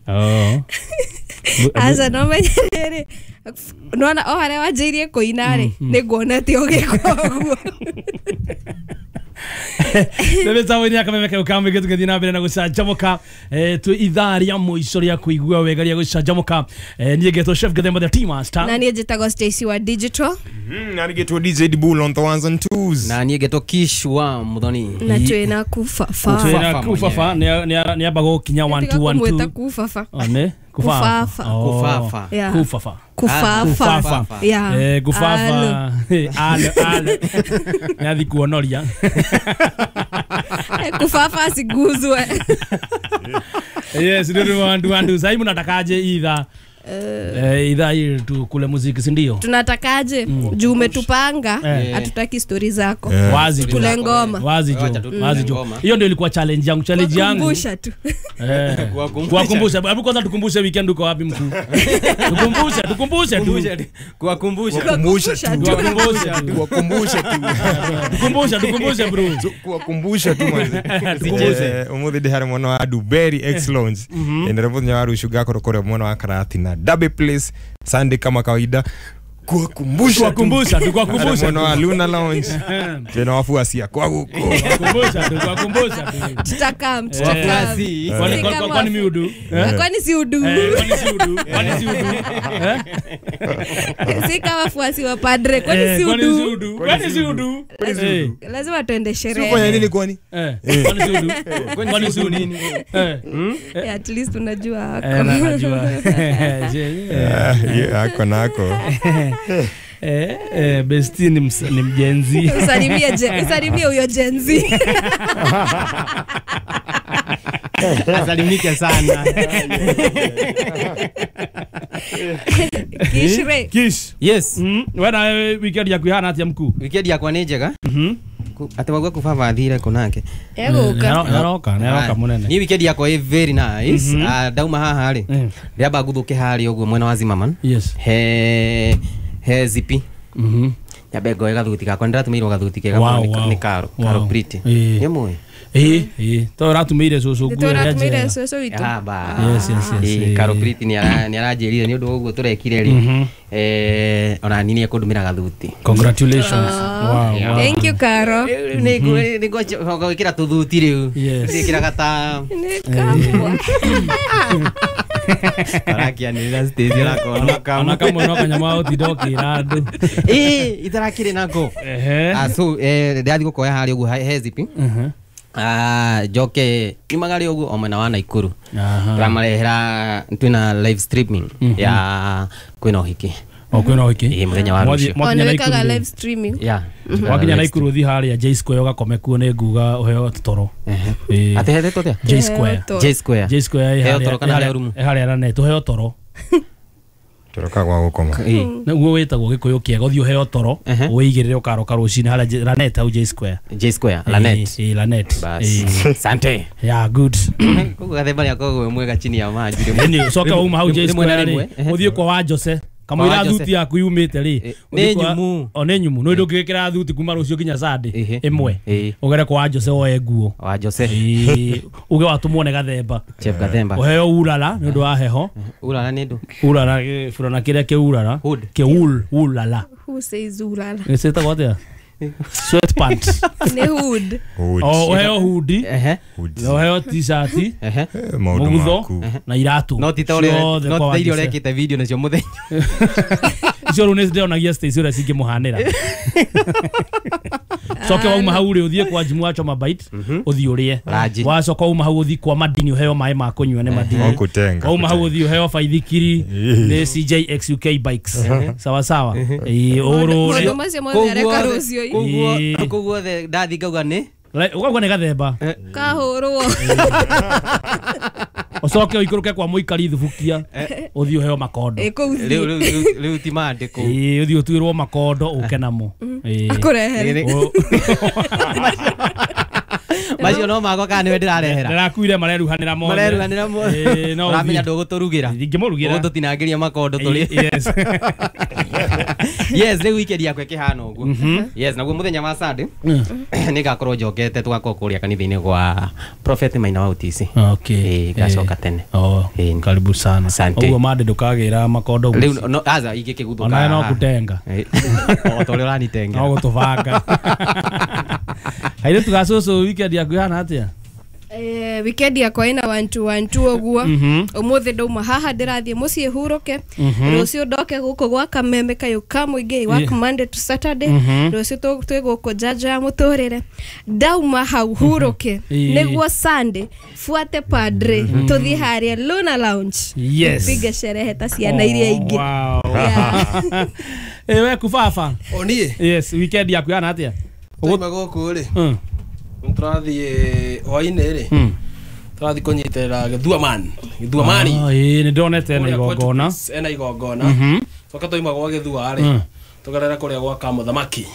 Oh. Aca no menye rĩrĩ nona o harĩa wanjĩirie kũina rĩ nĩ nguona ti ũgĩka ũguo. Nä nä akameme kau ka mä tå na mbere na gå canjamå twä ithaa rä a må rä a kå igua wega rä a gå canjamå niä ngetwo Chef Gathemba the Tea Master na niä njätagwo Stacy wa digital Na nigetwo DJ Dbull on the ones and twos. Na niä ngetwo Kish wa Muthoni. Na twä kubaba twä kubaba nä amba gå kinya 1 2 1 2 2 kubaba ne kufafa kufafa kufafa kufafa eh kufafa alo alo nathi kuonoria kufafa siguzwe. Yes, ndio wandu wandu sasa mnatakaje idha idha hii tu kule muziki si ndio? Tunatakaje juu umetupanga hatutaki story zako. Wazi tu kule ngoma. Wazi jo. Wazi jo. Hiyo ndio ilikuwa challenge yangu, challenge yangu. Kukumbusha tu. Kuwakumbusha. Hebu kwanza tukumbushe weekend uko wapi mkuu? Tukumbushe, tukumbushe tu. Kuwakumbusha. Kuwakumbusha tu. Kuwakumbusha tu. Tukumbusha, tukumbushe bro. Kuwakumbusha tu manze. Tukumbushe. Umuthi ndi hari mwana wa Duberi X Lounge. Endelea muthenya wa rucio ngakorwo kuria mwana wa Karatina. Derby Place Sunday kama kawaida. Kuwakumbusha kuwakumbusha tukuwakumbusha mwana wa Luna Lounge tena wafuasi kwa huko kuwakumbusha tukuwakumbusha tutakam tutakam kwani mi udu kwani si udu kwani si udu kwani si udu si kama wafuasi wa padre kwani si udu kwani si udu lazima tuende sherehe sio nini kwani kwani si udu kwani si udu nini at least unajua hako najua hako nako. Besti ni mjenzi. Usalimie usalimie huyo jenzi. Asalimike sana. Kishre. Kish. Yes. Wewe na weekend yaku ihana atia mkuu? Weekend yakwa nĩ njega. Ati wagwa kubaba athire kunake. Egũka. Naroka, naroka munene. Ni weekend yakwa ĩ very nice. Ndauma haha rĩ. Ndĩramba ngũthũke harĩa ũguo mwena wa Zimmerman. Yes. He zipi. Nyambe ngoe gathuti gakwa nĩndĩratũmĩirwo gathuti kega nĩ Karo. Karo Pretty. Nĩ mũĩ? To ũratũmĩire cũcũ nguo ĩrĩa njega. Cũcũ witũ. Yes, yes, yes. Karo Pretty nĩ aranjĩrire nĩ ũndũ wa ũguo tũrekire rĩ. Ona niĩ nĩekũndũmĩra gathuti. Congratulations. Wow, wow. Thank you Karo. Nĩ ngwĩkĩra tũthuti rĩu. Ndĩkĩraga ta nĩ kamwe. Arakianĩrĩra stage rakona kamwe. Ona kamwe no kanyama ũtinda ũkĩra andũ. Itarakĩrĩ nako. So ndĩrathiĩ gũkoya harĩa ũguo he zipi. Njoke nyumaga rĩ ũguo o mwena wa Naikuru. Tũramarehera twĩna live streaming ya kwĩna ũhiki. O kwĩna ũhiki? Mũthenya wa rũciũ. Ona wĩkaga live streaming. Yeah. Wakinya Naikuru ũthiĩ harĩa J Square ũgakome kuo nĩ nguga ũheo toro. Atĩ hethetwo atĩa? J Square. J Square. J Square heo toro kana heo rumu? Harĩa Lanet ũheo toro. Toro kagwa gũkoma. Nĩguo wĩtagwo Gĩkũyũ kĩega ũthiĩ ũheo toro wĩigĩrĩre ũkaroka rũcinĩ harĩa Lanet hau J Square. J Square Lanet. Lanet. Sante. Yeah, good. Koguo gathemba nĩakoragwo wĩ mwega chini ya maji. Nĩ ũcoke wauma hau J Square rĩ ũthiĩ kwa wa Jose. Kamũira thuti yaku yumĩte rĩ nĩ nyumu. O nĩ nyumu nĩ ndũngĩgĩkĩra thuti kuma rũciũ nginya Sunday ĩmwe ũgere kwa wa Jose woe nguo wa Jose uge watũmwo nĩ Gathemba Chef Gathemba ũheo urara nĩ ũndũ wa heho. Urara nĩ ndũ? Urara burana kĩrĩa kĩurara kĩul ulala. Who says urara? Nĩ ciĩtagwo atĩa? Sweatpants. Nĩ hood. O ũheo hoodie. Ũheo t-shirt. Mũgutho na iratũ. No ti ta iria ũrekĩte video nacio mũthenya. Icio rĩu nĩ ndĩonagia Stacy ũrĩa cingĩmũhanĩra. Coke wauma hau rĩ ũthiĩ kwa Jimu wa Choma Bite ũthiĩ ũrĩe. Wacoka wauma hau ũthiĩ kwa Madini ũheo maĩ ma kũnyua nĩ Madini. Wauma hau ũthiĩ ũheo baithikiri nĩ CJXUK Bikes. Sawa sawa. Ũrũre. Maũndũ macio mothe areka rũciũ. Koguo ndathi ngauga nĩ ũkauga nĩ Gathemba kahũrwo. Ũcoke ũikũrũke kwa mũikari thubukia ũthiĩ ũheo makondo. Rĩu ti mandĩko. Ũthiĩ ũtuĩrwo makondo ũke namo. Akũrehere. Macio no makwa kana nĩwe ndĩrarehera. Ndĩrakuire mareruhanĩra mothe. Mareruhanĩra mothe. Ũramenya ndũgũtũrugĩra. Ndingĩmũrugĩra. Ũgũtũtinangĩria makondo tũrĩe. Yes. Yes, rĩu weekend yakwa ĩkĩhana ũguo. Yes, naguo mũthenya wa Sunday nĩngakorwo njokete tũgakorwo kũrĩa kanitha-inĩ gwa Prophet Maina wa UTC. Okay. Ngacoka tene. Oh, karibu sana. Ũguo mande ndũkagĩra makondo rĩu no aza ingĩkĩguthũka. Ona no kutenga. O ta ũrĩa ũranitenga. No gũtũbanga. Airĩtu gacũcũ weekend yaku ihana atĩa? Weekend yakwa ina 1 2 1 2 ũguo. Ũmũthĩ ndauma haha ndĩrathiĩ mũciĩ hurũke. Rũciũ ndoke gũkũ gwa Kameme kayũ ka mũingĩ work Monday to Saturday. Rũciũ twĩ gũkũ njanjo ya mũtũrĩre. Ndauma hau hurũke nĩguo Sunday fuate padre tũthiĩ harĩa Luna Lounge. Yes. Tupige sherehe ta ciana iria ingĩ. Wow. We kubaba. O niĩ? Yes, weekend yaku ihana atĩa? Twauma gũkũ rĩ. Tũrathiĩ hwainĩ rĩ. Tũrathiĩ kũnyitĩrĩra Gĩthuamani. Gĩthuamani. Ĩĩ nĩ ndonete ena igongona. Ena igongona. Tũka twauma gwa Gĩthua rĩ. Tũgerera kũrĩa gwa Kamũthamaki.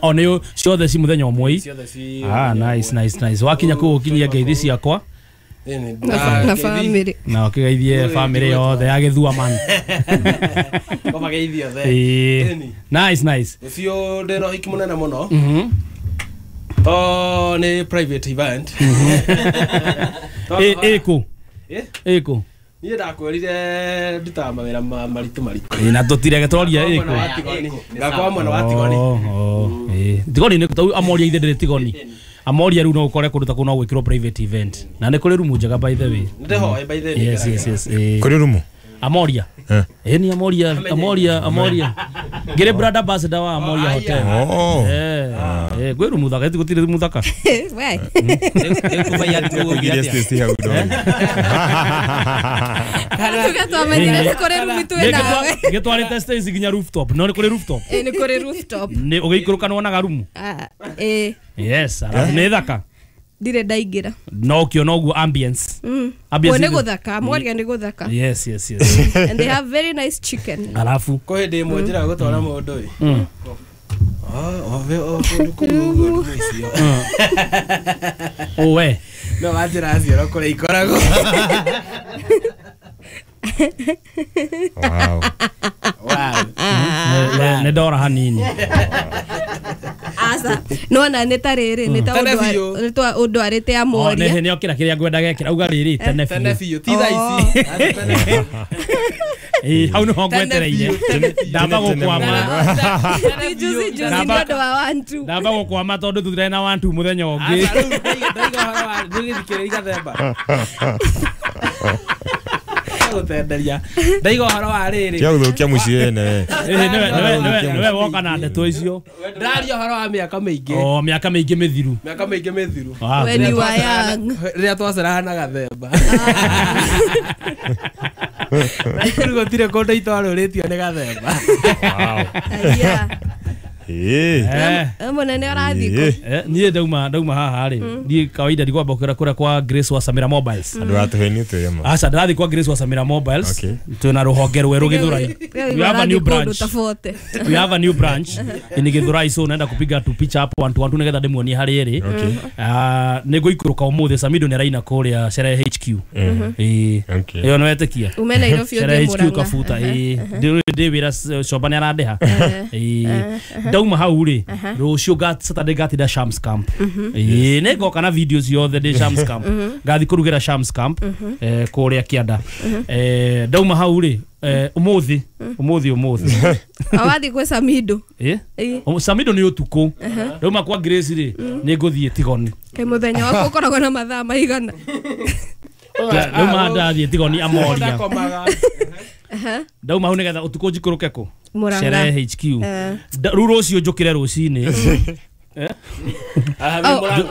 O nĩ ciothe ci mũthenya ũmwe. Ciothe ci. Ah, nice nice nice. Wakinya kũu ũkinyie ngeithi ciakwa. Na family. Na ũkĩgeithie family yothe ya Gĩthuamani. Kũmageithie othe. Nice nice. Ũcio ndĩna ũhiki mũnene mũno. To ni private event. Ĩkũ? Ĩkũ? Niĩ ndakwĩrire ndutaga mawĩra maritũ maritũ. Na tũtirege tũroria ĩkũ. Ngakwa mwena wa Tigoni. Tigoni nĩ tau amoria ithe ndĩrĩ Tigoni. Amoria rĩu no ũkore kũndũ ta kũu no gwĩkĩrwo private event. Na nĩ kũrĩ rumu njega by the way. Ndĩhoe by the way. Yes yes yes. Kũrĩ rumu? Amoria. Ni Amoria, Amoria, Amoria. Ngere brother ambassador wa Amoria Hotel. Gwĩ rumu thaka, gũtirĩ rumu thaka. We. Gĩtwarĩte Stacy nginya rooftop. No nĩ kũrĩ rooftop? Nĩ kũrĩ rooftop. Nĩ ũgĩikũrũka nĩwonaga rumu? Yes, nĩ thaka. Ndirĩ ndaingĩra. No ũkĩona ũguo ambience. Ambience nĩ gũthaka, Amoria nĩ gũthaka. Yes yes yes. And they have very nice chicken. Alafu kwĩ hĩndĩ ĩmwe njĩraga gũtwara mũndũ ĩ. Ove kũndũ kũu ũguo icio. Owe. No wanjĩra cioro kũrĩa ikoragwo. Wow. Wow. Nĩ ndora hanini. Asa nona nĩ ta rĩrĩ nĩ ta ũndũ arĩte Amoria. Nĩ okĩra kĩrĩa ngwenda gekĩra uga rĩrĩ tene biũ. Tene biũ ti thaa ici. Hau nĩho ngwetereire. Ndamba gũkwama. Juzi juzi nĩ ũndũ wa 1 2. Ndamba gũkwama tondũ tũtirĩ na 1 2 mũthenya ũngĩ. Ndaiga ũhoro wa ndũgĩthikĩrĩria gathemba. Gũtenderia. Ndaiga ũhoro wa rĩrĩ. Kĩa gũthũkia mũciĩ ene. Nĩwe woka na ndeto icio. Ndaria ũhoro wa mĩaka mĩingĩ. Oh, mĩaka mĩingĩ mĩthiru. Mĩaka mĩingĩ mĩthiru. When you were young. Rĩrĩa twaceraga na gathemba. Naikuru gũtirĩ kũndũ itwarũrĩtio nĩ gathemba. Wow. Yeah. Mũnene ũrathiĩ kũ? Niĩ ndauma haha rĩ. Niĩ kawaida ndigwamba kũra kũrĩa kwa Grace wa Samira Mobiles. Andũ atũheni twĩ ma. Aca ndĩrathiĩ kwa Grace wa Samira Mobiles. Twĩna rũhonge rwerũ Gĩthũrai. We have a new branch. We have a new branch in Gĩthũrai, so naenda kupiga tu picha hapo 1 2 1 nĩgetha ndĩmuonie harĩa ĩrĩ. Nĩ ngũikũrũka ũmũthĩ Samido nĩ araina kũrĩa Sherehe HQ. Ĩyo nĩ wetĩkia. Ume Nairobi Sherehe ũthiĩ HQ Murang'a. Kabuta. Ndĩ wĩra Coba nĩ arandĩha. Ndauma hau rĩ rũciũ Saturday ngatinda Shams Camp. Nĩ ngoka na video ciothe ndĩ Shams Camp. Ngathiĩ kũrugĩra Shams Camp kũrĩa Kĩanda. Ndauma hau rĩ ũmũthĩ Awathiĩ gwĩ Samido. Samido nĩ ũtukũ. Ndauma kwa Grace rĩ nĩ ngũthiĩ Tigoni. Kaĩ mũthenya waku ũkoragwo na mathaa maigana? Ndauma ndathiĩ Tigoni Amoria. Ndauma hau nĩgetha ũtukũ njikũrũke kũ? Sherehe HQ. Rĩu rũciũ njũkĩre rũcinĩ.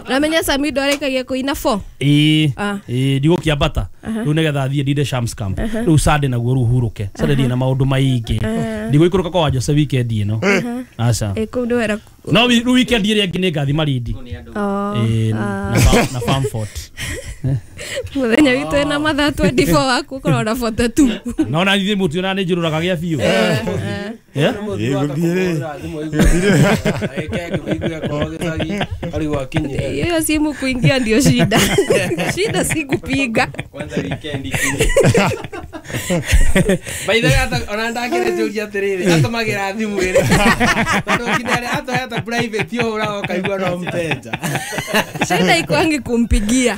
Namenya Samido arĩkagia kũina 4. Ĩĩ ndigũkĩambata. Rĩu nĩgetha thiĩ ndinde Shams Camp. Rĩu Sunday naguo rĩu hurũke. Sunday ndĩ na maũndũ maingĩ. Ndigũikũrũka kwa Jose weekend ĩno. Aca. Kũu nĩ wera. No rĩu weekend ĩrĩa ĩngĩ nĩ ngathi Malindi. Na Farmfort. Mũthenya witũ ena mathaa 24 waku ũkoragwo na 42. No na ithuĩ mũtiona nĩ njũrũraga gĩa biũ. Hiyo simu kuingia ndio shida. Shida si kupiga. Kwanza weekend. By the way ona ndakire njũria atiriri atũmagĩra thimũ ĩrĩ tondu kinya atoheta private yo ũra ũkaigua no mteja. Shida ikwangi kumpigia.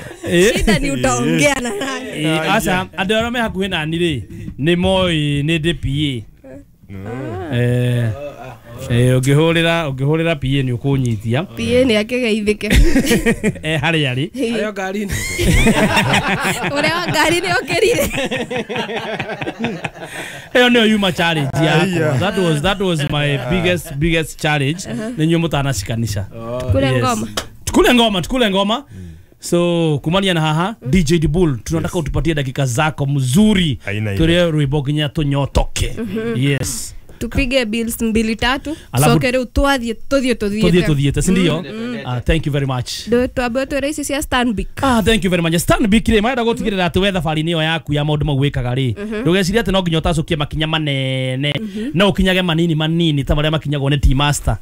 Shida ni utaongea na nani. Aca andũ arĩa me hakuhĩ nani rĩ nĩ moĩ nĩ ndĩ PA. Ũngĩhũrĩra PA nĩ ũkũnyitia. PA nĩ akĩgeithĩke. Harĩa arĩ. Harĩa ngari-inĩ. Ũrĩa wa ngari nĩ okĩrire. Ĩyo nĩyo yuma challenge yakwa. That was my biggest challenge. Nĩ inyuĩ mũtanacikanisha. Tukule ngoma. Tukule ngoma. So kumania na haha DJ Dibul tunataka utupatie dakika zako mzuri. Turie rwimbo nginya tunyotoke. Yes. Tupige bills 2-3 sokere utwathie tuthiete si ndio? Thank you very much. Ndo twambe twere ici cia Stanbic. Thank you very much. Stanbic ri marenda gutigirira ati we thabari-inĩ ĩyo yaku ya maũndũ mau wĩkaga rĩ ndũgecirie atĩ no nginya ũtacũkie makinya manene no ũkinyage manini manini ta marĩa makinyagwo nĩ T-Master.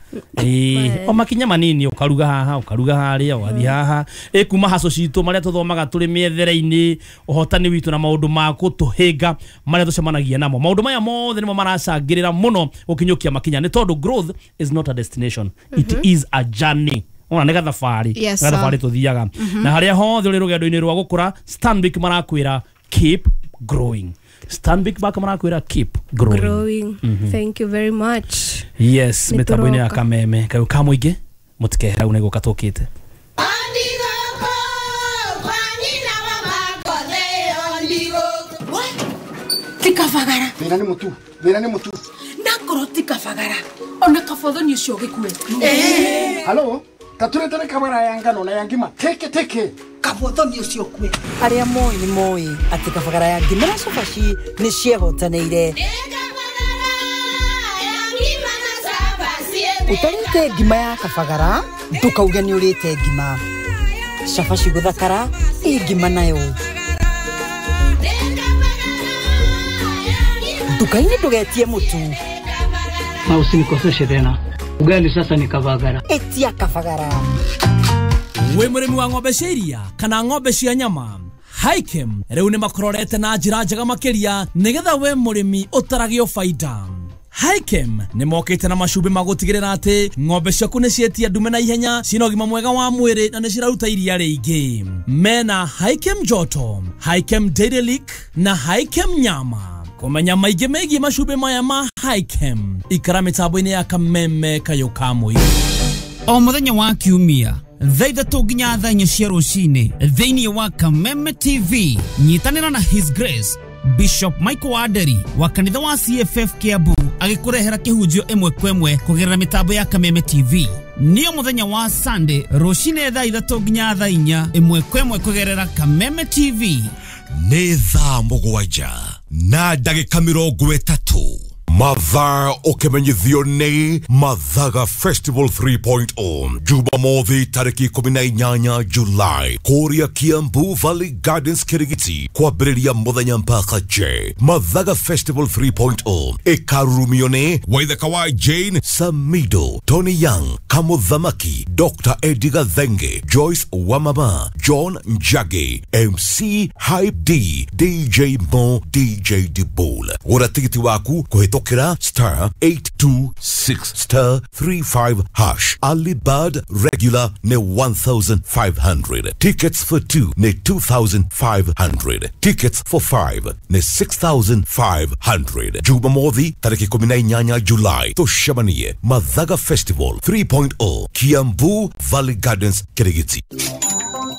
O makinya manini ũkaruga haha ũkaruga harĩa ũgathiĩ haha kuma haco citũ marĩa tũthomaga tũrĩ mĩethere-inĩ ũhotani witũ na maũndũ ma gũtũhĩnga marĩa tũcemanagia namo. Maũndũ maya mothe nĩmo maracangĩrĩra muno ukinyukia makinya ni tondu growth is not a destination. It is a journey. Ona nĩ gathabarĩ. Gathabarĩ tuthiaga na haria hothe uri rugendo-inĩ rwa gukura Stanbic marakwira keep growing. Stanbic Bank marakwira keep growing. Thank you very much. Yes, mitambo-inĩ ya Kameme kayo ka mũingĩ mũtikehera hau nĩ gũka tũkĩte. Tikabagara. Thĩna nĩ mũtu. Thĩna nĩ mũtu. Ndakorwo tikabagara. Ona kabothoni ũcio gĩkue. Halo, taturetere kabara ya ngano na ya ngima. Teke teke. Kabothoni ũcio kue. Arĩa moĩ nĩ moĩ atĩ kabagara ya ngima na cabaci nĩ ciehotanĩire. Ũtarĩte ngima ya kabagara ndũkauge nĩ ũrĩte ngima. Cabaci gũthakara ĩ ngima nayo. Nduka-inĩ ndũgetie mũtu. Na usinikoseshe tena. Ugali sasa ni kabagara. Etia kabagara. We mũrĩmi wa ng'ombe cia iria kana ng'ombe cia nyama Hikem rĩu nĩ makororete na njĩra njega makĩria nĩgetha we mũrĩmi ũtaragio baida. Hikem nĩ mokĩte na macumbĩ ma gũtigĩrĩra atĩ ng'ombe ciaku nĩ cietia ndume na ihenya cina ũgima mwega wa mwĩrĩ na nĩ ciraruta iria rĩingĩ. Mena Hikem Joto, Hikem Dairy Lick na Hikem Nyama. Kumenya maingĩ megiĩ macumbĩ maya ma Hikem ikara mĩtambo-inĩ ya Kameme kayo ka mũingĩ. O mũthenya wa kiumia thaa 3 nginya thaa 4 cia rũcinĩ thĩinĩ wa Kameme TV nyitanĩra na His Grace Bishop Michael Waderi wa kanitha wa CFF Kiambu agĩkũrehera kĩhunjio ĩmwe kwa ĩmwe kũgerera mĩtambo ya Kameme TV. Nĩyo mũthenya wa Sunday rũcinĩ thaa 3 nginya thaa 4 ĩmwe kwa ĩmwe kũgerera Kameme TV. Nĩ thaa 7 na ndagĩka 30 mathaa ũkĩmenyithio nĩ Mathaga Festival 3.0 Jumamothi tarĩki 18 Julai kũrĩa Kiambu Valley Gardens Kirigiti kwambĩrĩria mũthenya mpaka J. Mathaga Festival 3.0 ĩkarurumio nĩ Waithaka wa Jane Samido, Tony Young, Kamuthamaki, Dr. Eddie Gathenge, Joyce Wamama, John Njagi, MC Hype D, DJ Mo, DJ Dibul. Gũra tigiti waku kũhĩtũkĩra star 826 star 35 hash. Early bird regular ne 1,500. Tickets for 2 ne 2,500. Tickets for 5 ne 6,500. Jumamothi tariki 18 July tucemanie Mathaga Festival 3.0 Kiambu Valley Gardens Kirigiti.